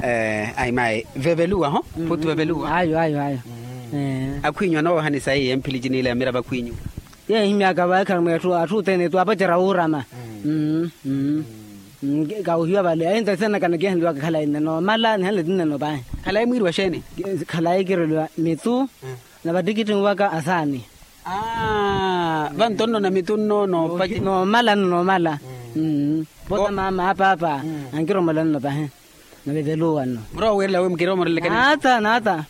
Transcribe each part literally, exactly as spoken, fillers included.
Ayi mayi veveluwa ho. Putu veveluwa. Ayo ayo ayo. Akhwinyu anoohani sayi emphilici niila ya mirava akhwinyu. Yeehi myaaka vaekhala mweetthu atthu othene twapacerya wuurama. Kawohiwa vale ahinta senakana kihenliwaka khalayi nne noomala nihanle tinneno pahi. Khalayi mwiiriwa xeeni? Khalayi kireliwa mithu na vatikittinwaka asaani. Vanto nno na mithu nno noomala nno noomala. Vota maama apaapa ankiromola nno pahi. Naveveluwa nno. Murowa wiirela wi mukiromorelekani? Naata naata.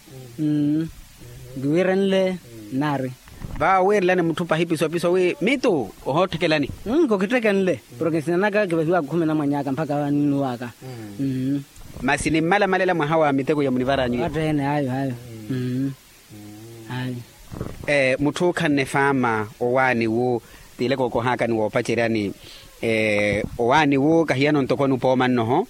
Nkiwiirenle nnaari. Vaawo wiirelani mutthu pahi pisopiso wi mitu ohootthekelani? Nkokitthekenle. Porke nsina naka kivahiwaka okhumina mwanny'aka mpakha vaninnuwaka. Masi nimmala malela mwaha wa miteko ya munivaranyu ya? Atteene ayo ayo. Ayo. Mutthu okhanne faama owaani wu, tiileke okohaakani woopaceryani. Owaani wu kahiyano ntoko anupooma nnoho.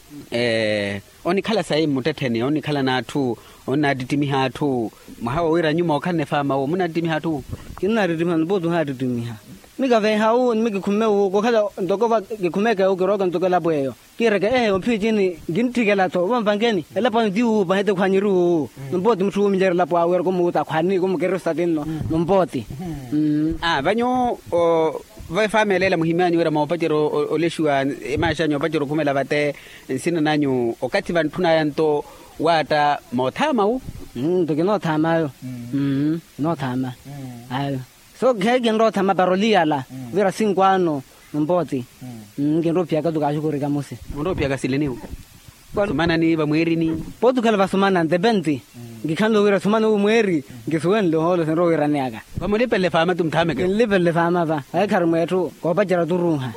Onikhala sayi mmuttettheni onikhala n'atthu, onnaattittimiha atthu. Mwaha wowiira nyuma okhanne faama wu munnaattittimiha atthu? Kinnaattittimiha ni pooti ohaattittimiha. Mikaveeha wu ni mikikhumme wu kokhala ntoko va kikhumeeke wu kirooke ntoko elapo eyo. Kiireke ehe omphicini nkintthikela-tho vamvankeni elapo anyu ti wuupa hete khwanyiri wuwu. Ni pooti mutthu wuumilyerya elapo awe eri kumuuta khwani kumukirisa tinno. Ni mpooti. Aa va nyuwo va efaama eleela muhimanyu wira moopacerya olexiwa, emaaxanyu oopacerya okhumela vate nsina nanyu okathi vantthunaya nto waatta moothaama wu? Nto kinoothaama ayo. Kinoothaama ayo. So kheekinroothaama para oliyala vira sinkwaano. Mpooti. Nkinrowa ophiyaka tu kaaxukurika musi. Munrowa ophiyaka sileniwo? Vasumanani vamweerini? Pooti okhala vasumana ntepenti. Nkikhanle wira sumana wu mweeri nkisuwenle ohoolo sinrowa wiiraneyaka. Vamulipele faama tu muthaameke. Kinlipele faama va ayekhari mweetthu koopacerya oturunha.